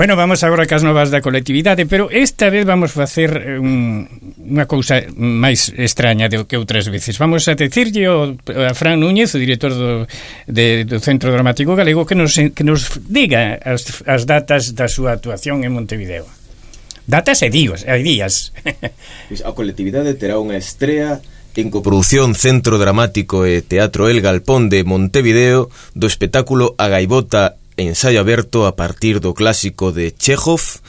Bueno, vamos agora cas novas da colectividade, pero esta vez vamos facer unha cousa máis extraña do que outras veces. Vamos a decirlle a Fran Núñez, o director do Centro Dramático Galego, que nos diga as datas da súa actuación en Montevideo. Datas e días. A colectividade terá unha estrea en coproducción Centro Dramático e Teatro El Galpón de Montevideo do espectáculo A Gaivota, ensaio aberto a partir do clásico de Chekhov,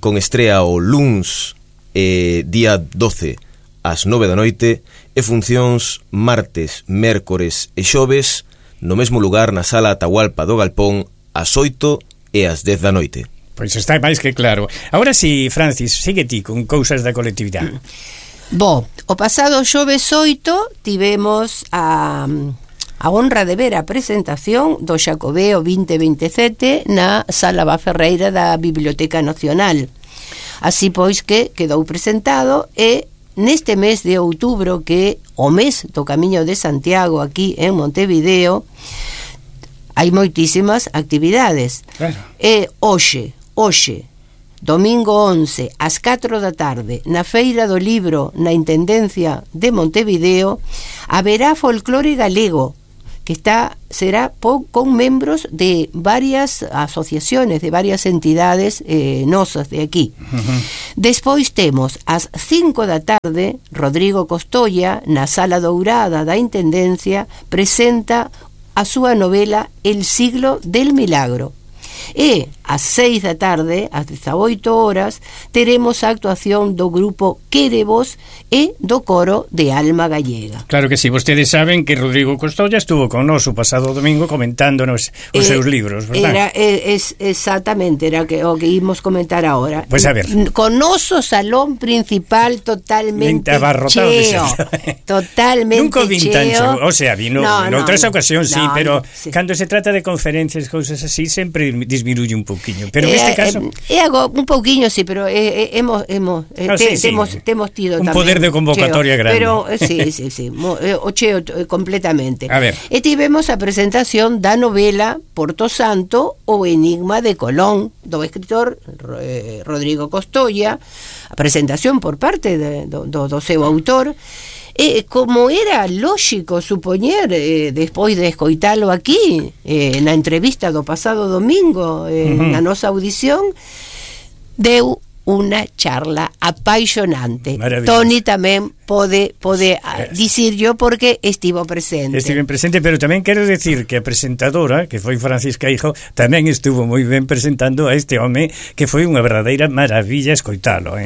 con estrea o luns día 12 ás 9 da noite e funcións martes, mércores e xoves no mesmo lugar na Sala Atahualpa do Galpón ás 8 e ás 10 da noite. Pois está máis que claro. Agora si, Francis, sigue ti con cousas da colectividade. O pasado xoves 8 tivemos a honra de ver a presentación do Xacobeo 2027 na Sala Baferreira da Biblioteca Nacional. Así pois que quedou presentado e neste mes de outubro, que o mes do Camiño de Santiago aquí en Montevideo, hai moitísimas actividades. Claro. E hoxe, domingo 11 ás 4 da tarde, na Feira do Libro na Intendencia de Montevideo, haberá folclore galego que será con membros de varias asociaciones, de varias entidades nosas de aquí. Despois temos ás 5 da tarde, Rodrigo Costolla, na Sala Dourada da Intendencia, presenta a súa novela El siglo del milagro. E ás 6 da tarde, ás 18 horas, teremos a actuación do grupo Quérevos e do coro de Alma Gallega. Claro que sí, vostedes saben que Rodrigo Costolla estuvo con nós o pasado domingo comentándonos os seus libros, verdad? Exactamente, era o que ímos comentar ahora. Pois a ver. Con noso salón principal totalmente abarrotado cheo. Totalmente nunca cheo. O sea, vino en outras ocasións, sí, pero cando se trata de conferencias, cousas así, sempre disminuye un pouquiño, pero neste caso algo un pouquiño, sí, pero temos tido un tamén poder de convocatoria cheo, grande. pero sí, o cheo completamente. A ver. E tivemos a presentación da novela Porto Santo, o enigma de Colón, do escritor Rodrigo Costolla, a presentación por parte do seu autor. Como era lógico supoñer, despois de escoitalo aquí na entrevista do pasado domingo, na nosa audición, deu unha charla apaixonante. Toni tamén pode dicirlo porque estivo presente. Estive presente, pero tamén quero decir que a presentadora, que foi Francisca Hijo, tamén estuvo moi ben presentando a este home, que foi unha verdadeira maravilla escoitalo,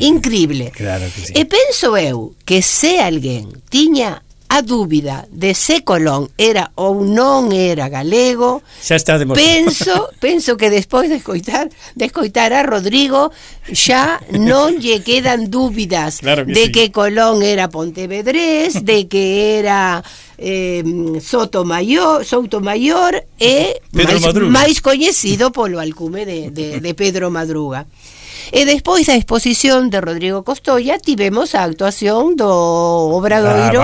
increíble. Claro que sí. E penso eu que se alguén tiña a dúbida de se Colón era ou non era galego, xa está demostrado. penso que despois de escoitar a Rodrigo xa non lle quedan dúbidas, claro que de sí, que Colón era pontevedrés, de que era Soutomayor e máis coñecido polo alcume de Pedro Madruga. E despois da exposición de Rodrigo Costolla tivemos a actuación do obradoiro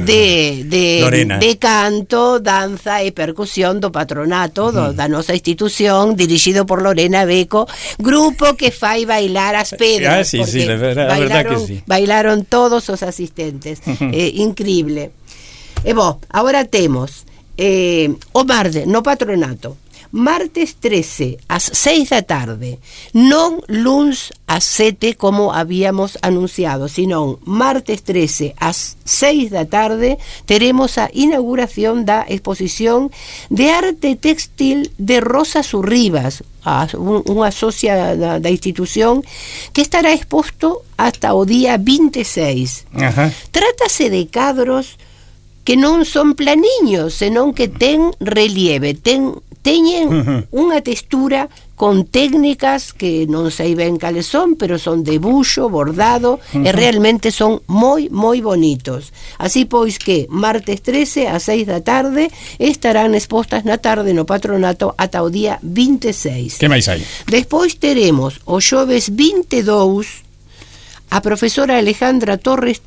de canto, danza e percusión do patronato da nosa institución, dirixido por Lorena Beco, grupo que fai bailar as pedras, sí, la verdad que sí. Bailaron todos os asistentes. Increíble. E agora temos o martes no patronato, martes 13 ás 6 da tarde, non luns ás 7 como habíamos anunciado, sino martes 13 ás 6 da tarde teremos a inauguración da exposición de arte textil de Rosa Surribas, unha socia da institución, que estará exposto hasta o día 26. Trátase de cadros que non son planiños, senón que ten relieve, teñen unha textura con técnicas que non sei ben cales son, pero son de buxo, bordado, e realmente son moi bonitos. Así pois que martes 13 ás 6 da tarde estarán expostas na tarde no patronato ata o día 26. Que máis hai? Despois teremos o xoves 22, a profesora Alejandra Torres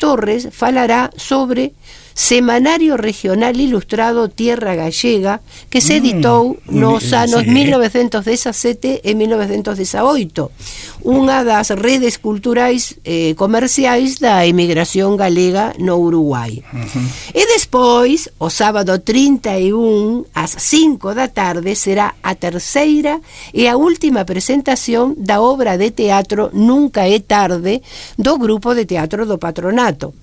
falará sobre Semanario Regional Ilustrado Tierra Gallega, que se editou nos anos 1917 e 1918, unha das redes culturais comerciais da emigración galega no Uruguai. E despois, o sábado 31 ás 5 da tarde, será a terceira e a última presentación da obra de teatro Nunca é tarde, do grupo de teatro do Patronato.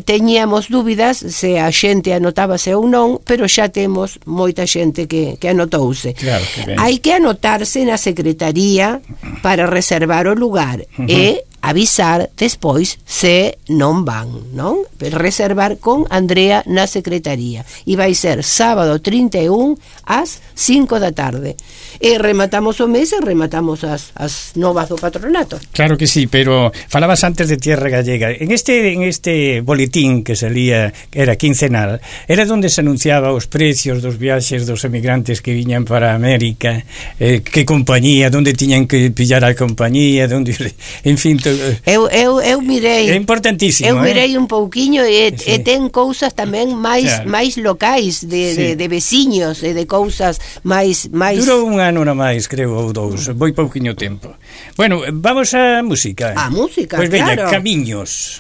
Teníamos dúbidas se a xente anotábase ou non, pero xa temos moita xente que anotouse. Claro, hai que anotarse na secretaría para reservar o lugar e avisar despois se non van, non? Reservar con Andrea na secretaría. E vai ser sábado 31 ás 5 da tarde. E rematamos o mes e rematamos as novas do Patronato. Claro que sí, pero falabas antes de Tierra Gallega. En este boletín que salía, que era quincenal, era donde se anunciaba os precios dos viaxes dos emigrantes que viñan para América, que compañía, donde tiñan que pillar a compañía, donde, en fin, eu mirei. É importantísimo. Eu mirei un pouquiño e ten cousas tamén máis locais de veciños e de cousas máis. Durou un ano na máis, creo, ou dous. Foi pouquiño tempo. Bueno, vamos á música. A música, pois veña, claro. Camiños.